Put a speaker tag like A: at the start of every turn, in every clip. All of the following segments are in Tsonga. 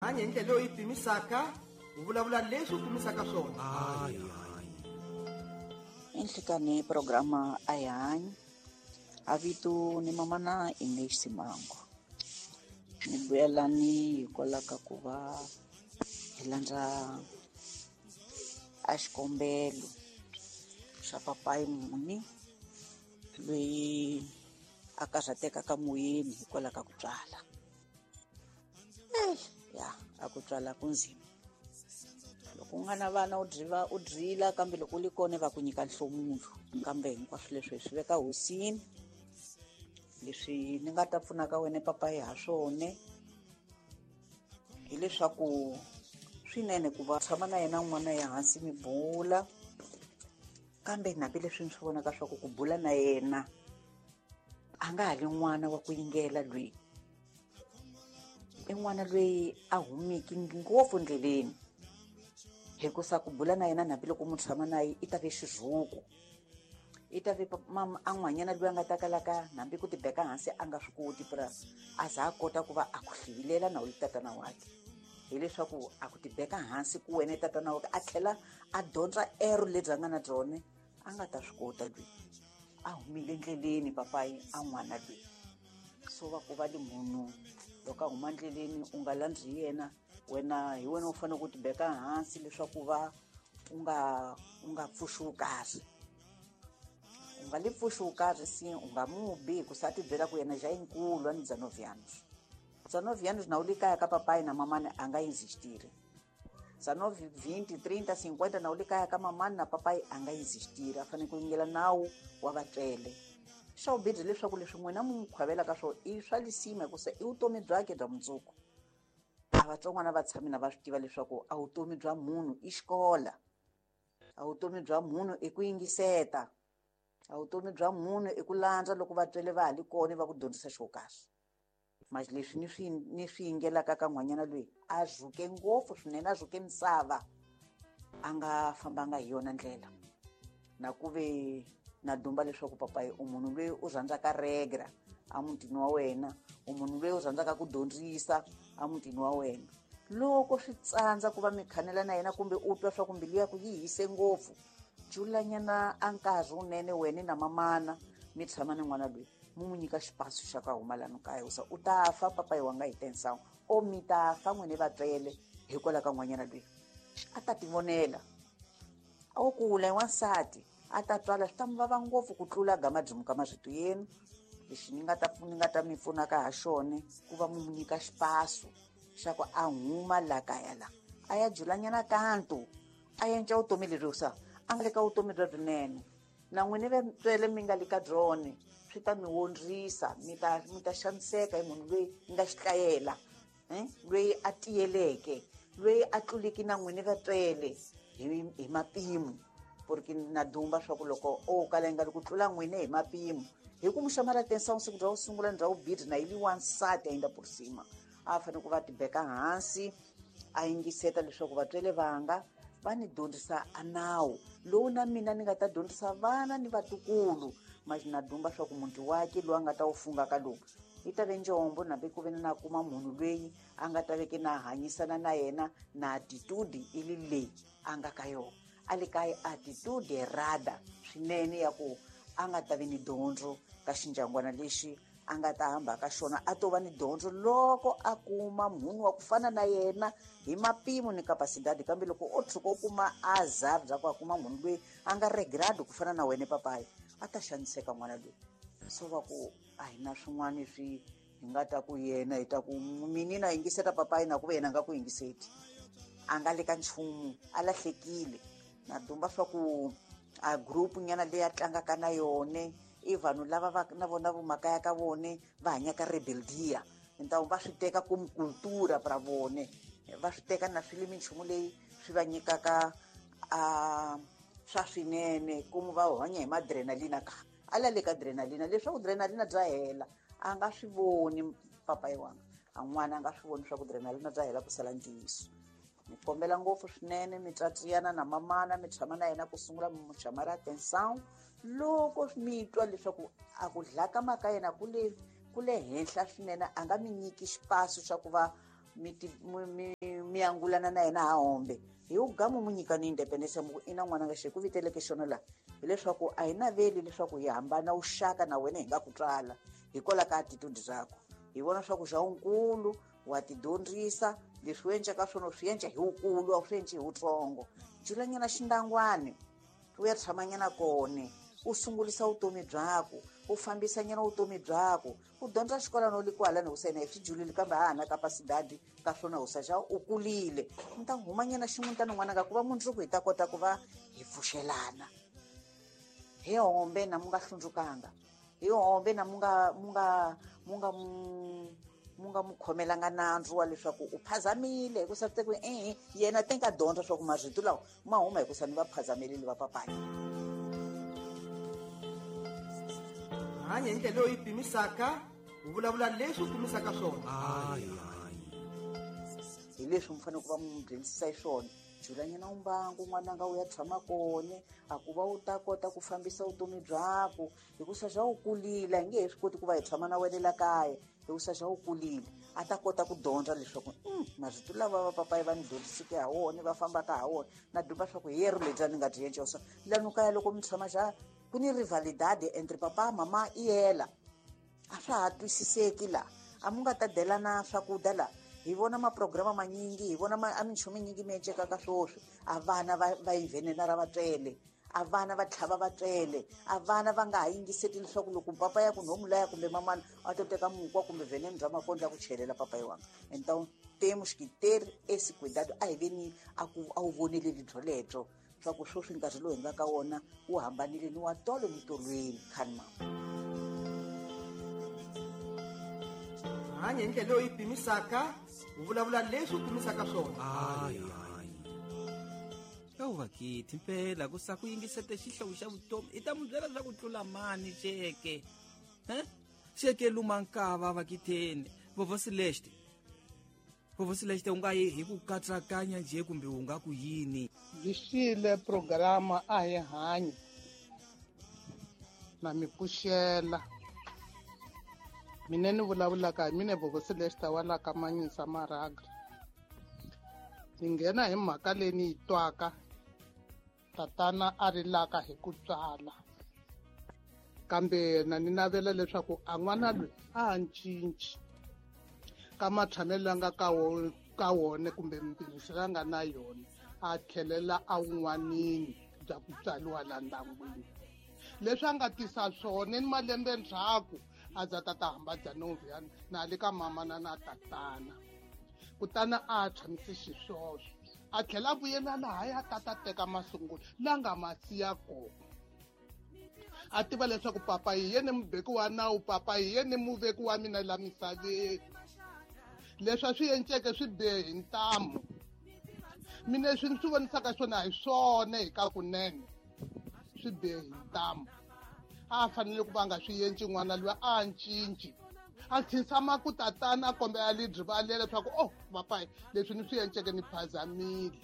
A: Hanya hi ndlela leyi u yi pimisaka, u vulavula leswi u pimisaka swona.
B: Enhlikani programa a hi hanyi a vito ni mamana English Simango ni vuyelani hikwalaho ka ku va hi landza a xikombelo xa papayi muni loyi a karhatekaka moyeni hikwalaho ka ku tswala. Ya a ku tswala ku nzima loko u nga na vana u dyiva u dyila kambe loko u li kona va ku nyika nhlomulo kambe hinkwaswo leswi hi swi veka hosini. Leswi ni nga ta pfunaka wena papayi ha swona hileswaku swinene ku va tshama na yena n'wana ya hansi mi bula, kambe hambileswi ni swi vonaka swa ku ku bula na yena a nga ha li n'wana wa ku yingela loyi i n'wana loyi a humiki ngopfu ndleleni hikusa ku bula na yena hambiloko mu tshama na ye i ta ve xirhuku i ta ve mama a n'wanyana loyi a nga ta kalaka hambi ku tibeka hansi a nga swi koti pura a za a kota ku va a ku hlivilela na u li tatana wakhe hileswaku a ku tibeka hansi ku wena tatana wakhe a tlhela a dyondza ero lebyi a nga na byone a nga ta swi kota loyi a humile ndleleni papayi a n'wana loyi. So va ku va li munhu loko a huma ndleleni u nga landzi yena wena hi wena u fanele ku tibeka hansi leswaku va u nga pfuxi karhi u nga li pfuxi karhi si u nga mubi hikusa a ti byela ku yena ja yinkulu a ni 19 anos 19 anos na u li kaya ka papai na mamani a nga existiri 19 20 30 50 na u li kaya ka mamani na papai a nga existiri a fanele ku yingela nawu wa vatswele. Xa vubirhi leswaku leswi n'wina mu n'wi khwavelaka swona i swa lisima hikusa i vutomi byakhe bya mundzuku. A vatsongwana va tshami na va swi tiva leswaku a vutomi bya munhu i xikola, a vutomi bya munhu i ku yingiseta, a vutomi bya munhu i ku landza loko vatswele va ha li kona va ku dyondzisa xo karhi. Manje leswi ni swi yingelaka ka n'wanyana loyi a zuke ngopfu swinene, a zuke misava a nga fambanga hi yona ndlela. Na ku ve na dumba leswaku papayi u munhu loyi u rhandzaka regra a mutini wa wena, u munhu loyi u rhandzaka ku dyondzisa a mutini wa wena. Loko swi tsandza ku va mi khanela na yena kumbe u twa swa ku mbilu ya ku yi hise ngopfu, julanyana a nkarhi wunene wena na mamana mi tshama ni n'wana loyi mu n'wi nyika xipasu xa ku huma lano kaya usa u ta fa papayi wa nga hi tensawu o mi ta fa n'wini vatswele hikwalaho ka n'wanyana loyi a ta tivonela a wo kula i wansati a ta twala swi ta mi vava ngopfu ku tlula gama byimuka marito yenu. Lexi ni nga ta mi pfunaka ha xona ku va mu nyika xipasu xa ku a huma la kaya la a ya julanyana kanto a yenca vutomi leri sa a nga le ka vutomi bya byinene na n'wini vatswele mi nga le ka byone swi ta mi wondzisa mi ta xaniseka hi munhu loyi mi nga xitlayela loyi a tiyeleke loyi a tluliki na n'wini vatswele hi mapimo porque na dumba swa ku loko o kala yi nga ri ku tlula n'wini hi mapimo hi ku muxamala tensa siku bya ku sungula ni bya vubirhi na yi li wansati a yinda por cima a fanele ku va tibeka hansi a yingiseta leswaku vatswele vanga va ni dyondzisa a nawu lowu na mina ni nga ta dyondzisa vana ni vatukulu. Manje na dumba swa ku muti wakhe lowu a nga ta wu fungaka lowu yi ta ve njombo nambe ku ve na kuma munhu loyi a nga ta veke na hanyisana na yena na attitude i li leyi a nga ka yona a le ka attitude errada swinene ya ku a nga ta ve ni dyondzo ka xindyangwana lexi a nga ta hamba ka xona a to va ni dyondzo loko a kuma munhu wa ku fana na yena hi mapimo ni capacidade. Kambe loko o tshuka u kuma azar bya ku a kuma munhu loyi a nga regrade ku fana na wena papayi a ta xaniseka n'wana loyi. So va ku a hi na swin'wana swi hi nga ta ku yena hi ta ku mini na yingiseta papayi na ku ve yena a nga ku yingiseti a nga le ka nchumu a lahlekile. Na dumba swa ku a group nyana leyi a tlangaka na yone i vanhu lava va na vona vomakaya ka vone va hanyaka rebeldia ntawu va swi teka como cultura pra vone va swi teka na swi le minchumu leyi swi va nyikaka a swa swinene como va hanya hi madrenalina ka a la le ka adrenalina leswaku adrenalina bya hela a nga swi voni papayi wanga a n'wana a nga swi voni swa ku adrenalina bya hela ku sala ntiyiso. Mi kombela ngopfu swinene mi tsatsiyana na mamana mi tshama na yena ku sungula mi chamar atenção loko mi twa leswaku a ku dlaka maka yena ku le henhla swinene a nga mi nyiki xipasu xa ku va mi Mi angulana na yena ha hombe hi ugamu mu nyika ni independence mu ina n'wana nga xi ku viteleke xona la hileswaku a hi naveli leswaku hi hambana uxaka na wena hi nga ku tswala hikwalaho ka attitude zakho hi vona swa ku xa unkulu wa tidyondzisa leswi u endlaka swona u swi endla hi wukulu a wu swi endli hi wutsongo julanyana xindangwani u ya tshamanyana kone u sungulisa vutomi byaku u fambisanyana vutomi byaku u dyondza xikolo no li kwalani husa yena hi swi julile kambe ha ha na kapasidadi ka swona husa xa u kulile mi ta humanyana ximutana n'wananga ku va mundzuku hi ta kota ku va hi pfuxelana hi hombe na mu nga hlundzukanga hi hombe na mu nga mu nga mu nga mu nga mu khomelanga nandzu wa leswaku u phazamile hikusa swi tekiwe ehe yena te nga dyondza swa ku marito lawa ma huma hikusa ni va phazamelile va papayi.
A: Hanya hi ndlela leyi yi pimisaka u vulavula leswi u pimisaka swona.
B: Hi leswi mi fanele ku va mu dyondzisa hi swona julanyana umbangu n'wananga u ya tshama kone a ku va u ta kota ku fambisa vutomi byaku hikusa xa u kulile hi nge he swi koti ku va hi tshama na wena la kaya hikusa xa u kulile a ta kota ku dyondza leswaku marito lava va papayi va ni dyondziseke ha wona va fambaka ha wona na dumba swa ku hi yero lebyi a ni nga byi endla swa lanu kaya loko mi tshama xa ku ni rivalidade entre papa mama i yela a swa ha twisiseki la a mu nga ta delana swakudya la hi vona maprograma manyingi hi vona a minchumu minyingi mi encekaka swoswi a vana va yi ra vatswele a vana va tlhava vatswele a vana va nga ha yingiseti leswaku loko papa ya ku nhomu laya kumbe mamana a to teka mukwa kumbe venene bya makondlo ya ku chelela papayi wanga. Então temos que ter esse cuidado a hi veni a ku a wu voneleli byolebyo swa ku sweswi nkarhi lowu hi nga ka wona wu hambanile ni wa tolo ni tolweni khani mama.
A: Hanya hi ndlela leyi yi pimisaka u vulavula leswi u pimisaka swona.
C: Yawuvakithi mpela ku sa ku yingisete xihlovo xa vutomi i ta mu byela swa ku tlula mani xeke xeke luma nkava vakitheni Vovó Celeste Vovó Celeste u nga yi hi ku katsakanya nje kumbe u nga ku yini
D: lixile programa a hi hanyi na mi pfuxela mina ni vulavulaka hi mina Vovó Celeste wa la ka Manyisa Maraga ni nghena hi mhaka leyi ni yi twaka tatana a rilaka hi ku tswala kambe na ni navela leswaku a n'wana loyi a ha cinci ka matshamelo la nga ka wona kumbe mpimiso la nga na yona a tlhelela a wun'wanini bya ku tswariwa la ndyangwini leswi a nga tisa swona ni malembe ndzhaku a za tata hamba bya novya na le ka mamana na tatana kutani a tshamise xiswoswo a tlhela a vuyela laha ya tata teka masungulo la nga ma siya kona a tiva leswaku papa hi yena mubeki wa nawu papa hi yena muveki wa mina la misaveni leswi a swi enceke swi bihe hi ntamu mina leswi ni swi vonisaka swona hi swona hi ka kunene swi bihe hi ntamu a fanele ku va nga swi endli n'wana loyi a cinci a khinsama ku tatana a kombela lidrivalela leswaku oh papayi leswi ni swi enceke ni phazamile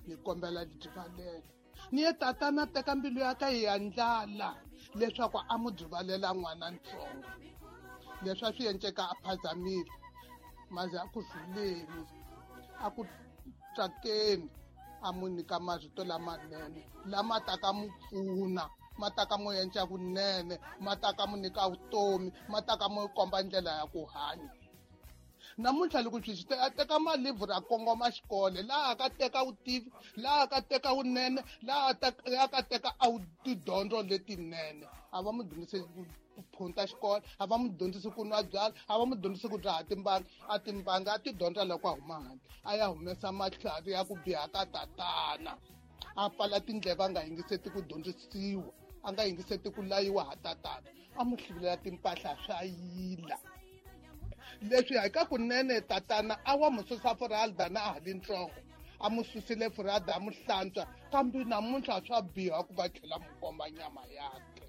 D: ni kombela lidrivalela ni ye tatana teka mbilu ya ka yi ya ndlala leswaku a mu drivalela n'wana ntsongo leswi a swi enceka a phazamile maze a ku zuleni a ku tsakeni a mu nyika marito lamanene lama taka mu pfuna ma ta ka mu endla kunene ma ta ka mu nyika vutomi ma ta ka mu komba ndlela ya ku hanya namuntlha loko swi a teka malivhuri a kongoma xikolo laha ka teka vutivi laha ka teka vunene laha ka teka a tidyondzo letinene a va mu dyondzisi ku phunta xikolo a va mu dyondzisi ku nwa byala a va mu dyondzisi ku dzaha timbanga a timbanga a ti dyondza loko a huma handle a ya humesa matlhari ya ku biha ka tatana a pfala tindleve a nga yingiseti ku dyondzisiwa a nga yingiseti ku layiwa ha tatana a mu hluvulela timpahla swa yila leswi hi ka kunene tatana a wa mu susa furalda na a ha li ntsongo a mu susile furalda a mu hlantswa kambe namuntlha swa biha ku va tlhela mu komba nyama yakhe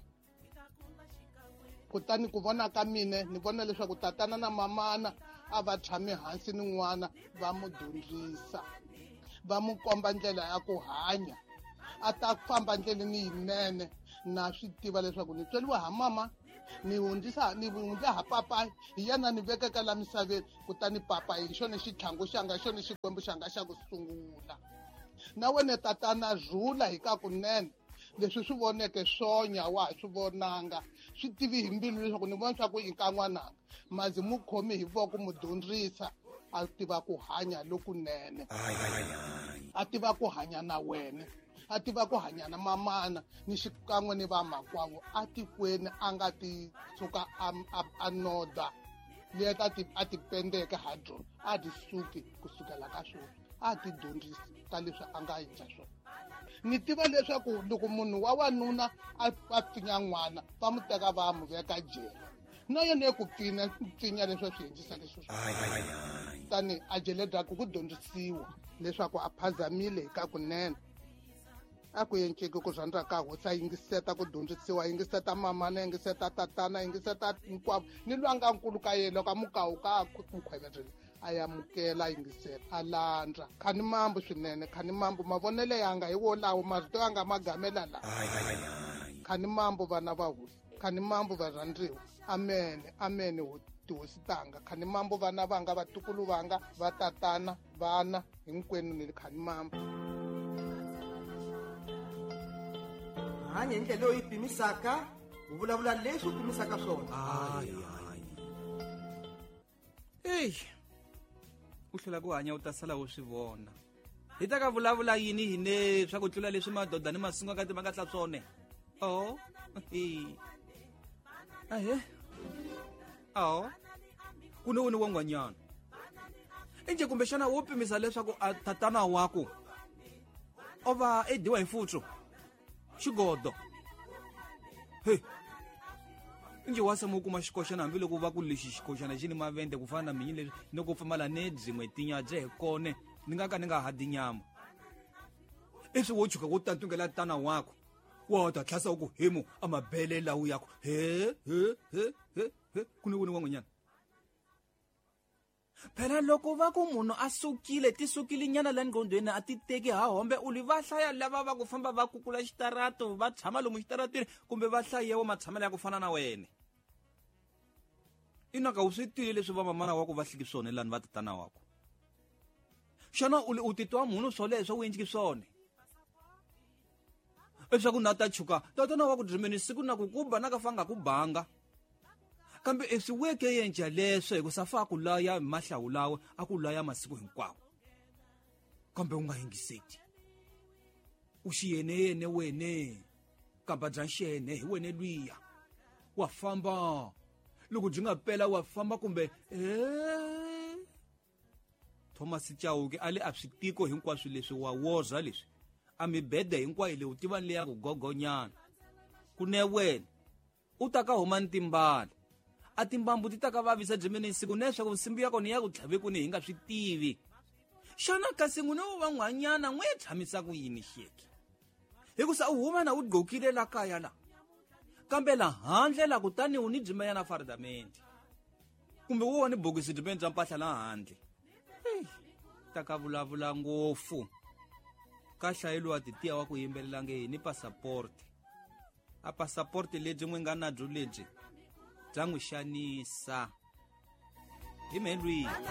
D: kutani ku vona ka mina ni vona leswaku tatana na mamana a va tshami hansi ni n'wana va mu dyondzisa va mu komba ndlela ya ku hanya a ta famba ndleleni yinene na swi tiva leswaku ni tsweliwa ha mama Ni hundzisa ni hundza ha papayi hi yena ni vekeke la misaveni, kutani papayi hi xona xitlhangu xanga, xona xikwembu xanga xa ku sungula. Na wena tatana rhula hi ka kunene, leswi swi voneke swonya wa ha swi vonanga, swi tivi hi mbilu leswaku ni vona swa ku i ka n'wananga. Mazi mu khomi hi voko mu dyondzisa a tiva ku hanya lokunene, a tiva ku hanya na wena, a tiva ku hanya na mamana ni xikan'we ni vamakwavo atikweni, a nga ti tshuka a noda leyi a ti pendeke ha byona, a ti suki kusukela ka swona, a ti dyondzisi ka leswi a nga endla swona. Ni tiva leswaku loko munhu wa wanuna a pfinya n'wana va mu teka va mu veka jele, na yena ku pfinya leswi a swi endlisaka xiswona. Tani a jele byaku ku dyondzisiwa leswaku a phazamile hi ka kunene, a ku enceki ku rhandza ka hosi, a yingiseta ku dyondzisiwa, a yingiseta mamana, a yingiseta tatana, a yingiseta hinkwavo, ni lwa nga nkulu ka yena loko a mukawuka a mukhweverile a amukela, a yingisela, a landza. Khani mambu swinene, khani mambu mavonelo yanga hi wolawo, marito yanga ma gamela la. Khani mambu vana va hosi, khani mambu varhandziwa. Amen, amen tihosi tanga. Khani mambu vana vanga, vatukulu vanga, va tatana, vana hinkwenu ni khani mambu.
A: Hanya hi ndlela leyi pimisaka, u vulavula leswi u pimisaka swona.
C: Ey, u hlula ku hanya u ta sala u swi vona. Hi ta ka vulavula yini hine swa ku tlula leswi madoda ni masunga ka timanga tla swone. Oh, ahe. Oh. Ku ni wuni wa n'wanyana. Inje kumbexana wo pimisa leswaku a tatana wako o va e dyiwa hi futsu xigodo. He. Inje wa sama u kuma xikoxana hambiloko va ku lexi xikoxana xi ni mavende ku fana na minyi leswi ni ku pfumala ni byin'we tinya bye hi kone ni nga ka ni nga ha dyi nyama. Iswi wo chuka wo tantungela tana wako wa ta tlhasa u ku hemu a mabele lawu yako. He he he he he ku ni wuni wa n'wanyana. Phela loko va ku munhu a sukile ti sukile nyana la nqondweni a ti teki ha hombe u li va hlaya lava va ku famba va kukula xitarato va tshama lomu xitaratini kumbe va hlayewa matshamelo ya ku fana na wena. Inaka u swi tivi leswi va mamana wa ku va hliki swona lani va tatana wa ku. Xana u li u titwa munhu swoleswo u endliki swona? Leswaku na ta chuka tatana wa ku drimeni siku na ku kuba na ka fanga ku banga. Kambe eswi weke yenja leswo hi ku safa ku laya mahlawulawe a ku laya masiku hinkwawo. Kambe u nga yingiseti. U xiyene yene wene kamba bya xene hi wene lwiya. Wa famba loko byi nga pela wa famba kumbe Thomas Chauke a le a swi tiko hinkwaswo leswi wa woza leswi a mibede hinkwayo leyi u tiva leya ku gogonyana. Ku ne wena u ta ka huma ni timbala a timbambu ti ta ka vavisa byimene siku neswaku nsimbi ya kona ya ku tlhave ku ni hi nga swi tivi. Xana kasi n'wina wo va n'wanyana n'wi tshamisa ku yini xeke? Hikusa u huma na u gqokile la kaya la kambe la handle la kutani u ni byimenyana faridamente kumbe wo wa ni bokisi byimene bya mpahla la handle. Ta ka vulavula ngopfu ka hlayeliwa titiya wa ku yimbelela nge ni passport. A passport lebyi n'wi nga na byo lebyi bya n'wi xanisa hi mhelwini.